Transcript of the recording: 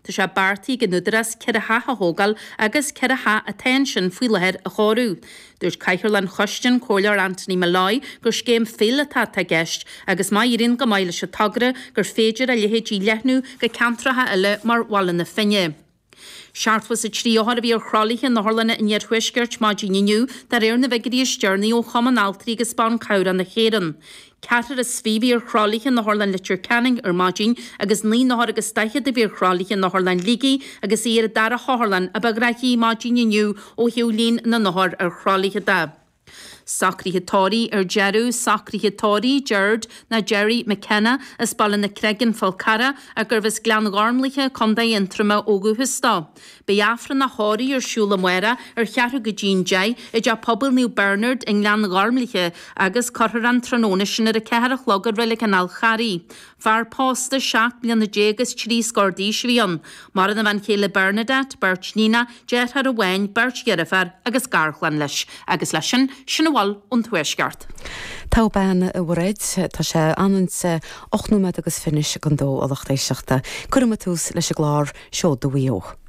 Tá sé beartaithe ag an Údarás 4 theach a thógáil agus 4 theach atá ansin faoi láthair a chóiriú. Dúirt Cathaoirleach an Choiste, an Comhairleoir Anthony Molloy, gur scéim phíolótach atá i gceist agus má éiríonn go maith leis an togra gur féidir a leithéid a leathnú go ceantracha eile mar Bhaile na Finne. 73 othar a bhí ar thralaithe in otharlanna an iarthuaiscirt maidin inniu, de réir na bhfigiúirí is deireanaí ó Chumann Altraí agus Ban Cabhrach na hÉireann. Ceathrar is 20 a bhí ar thralaithe in Otharlann Leitir Ceanainn ar maidin agus naoi n-othar agus daichead a bhí ar thralaithe in Otharlann Shligigh agus í ar an dara hotharlann a ba ghnaithí maidin inniu ó thaobh líon na n-othar ar thralaithe de. Socruithe tórraimh ar deireadh, Socruithe tórraimh Gerard nó Gerry McKenna as Baile na Creige, An Fál Carrach, ach gurbh as Gleann Ghormlaithe, Co. Aontroma ó dhúchas dó. Beidh Aifreann a thórraimh ar siúl amárach ar cheathrú go dtí'n 10 i dTeach Pobail Naomh Bernard i nGleann Ghormlaithe agus cuirfear an tráthnóna sin ar a ceathair a chlog i Reilig an Fháil Charraigh. Fear pósta 17 mbliana is trí scór d'aois a bhí ann. Maireann a bhean chéile Bernadette, beirt níonach, deartháir amháin, beirt dheirféar agus garchlann leis. Agus leis sin, sin a bhfuil ón Tuaisceart. Togha bean, a Mhairéad. Tá sé anonn 8 nóiméad agus finish don dó a lucht éisteachta. Cuirfidh muid tús leis an gclár Seoda Mhaigh Eo.